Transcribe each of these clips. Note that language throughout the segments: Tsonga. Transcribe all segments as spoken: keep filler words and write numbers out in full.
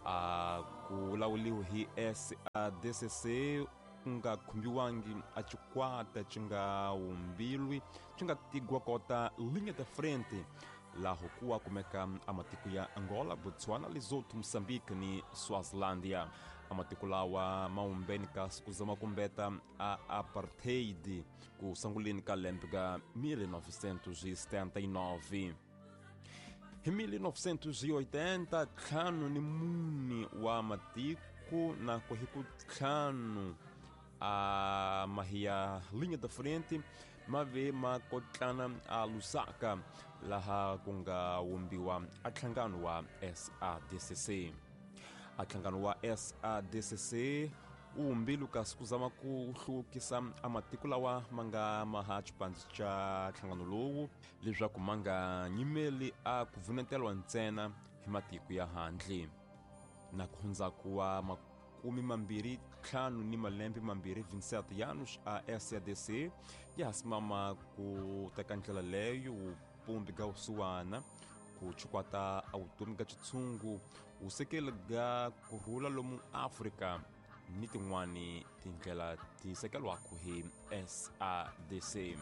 A ku lawuliwa hi S A D C C ku nga khumbiwangi a xikwata xi nga wumbilwi xi nga tigwa kota linha da frente laho kuwa kumeka a matiko ya Angola, Botswana, Lesotho, Moçambique ni Swazilandia. A matiko lawa ma humbeni ka kuzama kumbeta a apartheid ku sanguleni ka lembe ka mil novecentos e setenta e nove. Hi mil novecentos e oitenta, ntlhanu ni mune wa matiko na ku hi ku ntlhanu a mahia linha da frente ma ve ma kotlana a Lusaka laha ku nga wumbiwa a nhlangano wa S A D C C. A nhlangano wa S A D C C wu wumbilu kasi ku zama ku hluvukisa a matiko lawa ma nga maha xipandzi xa nhlangano lowu leswaku ma nga nyimeli a ku vuneteliwa ntsena hi matiko ya handle. Na ku hundzaku wa makumi mambirhi ntlhanu ni malembe mambirhi vinte e sete anos a S A D C ya ha simama ku teka ndlela leyo vupumbi ga vusiwana ku chukwata a vutomi ga xitshungu wusekeli ga kurhula lomu Afrika ni tin'wani tindlela ti sekeliwaka hi S A D C.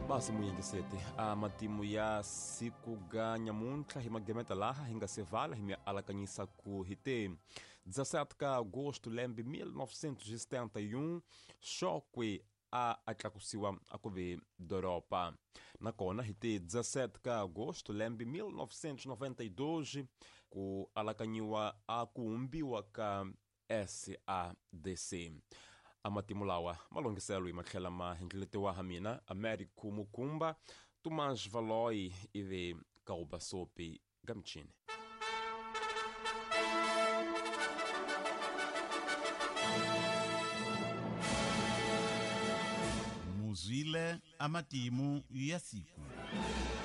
Basi muyingiseti a matimu ya siku ga nyamuntlha hi magemeta laha hi nga se vala hi mi alakanyisa ku hi te dezessete ka agosto lembe mil novecentos e setenta e um Chokwe a a tlakusiwa a ku ve doroba. Nakona hi te dezessete ka agosto lembe mil novecentos e noventa e dois ku alakanyiwa a ku humbiwa ka S A D C. A matimu lawa malongiselo hi matlhela ma hindleletiwa ha mina Américo Mukumba, Tomás Valoi ivi Kaubasopi Gamchini. Muzwile amatimu ya siku.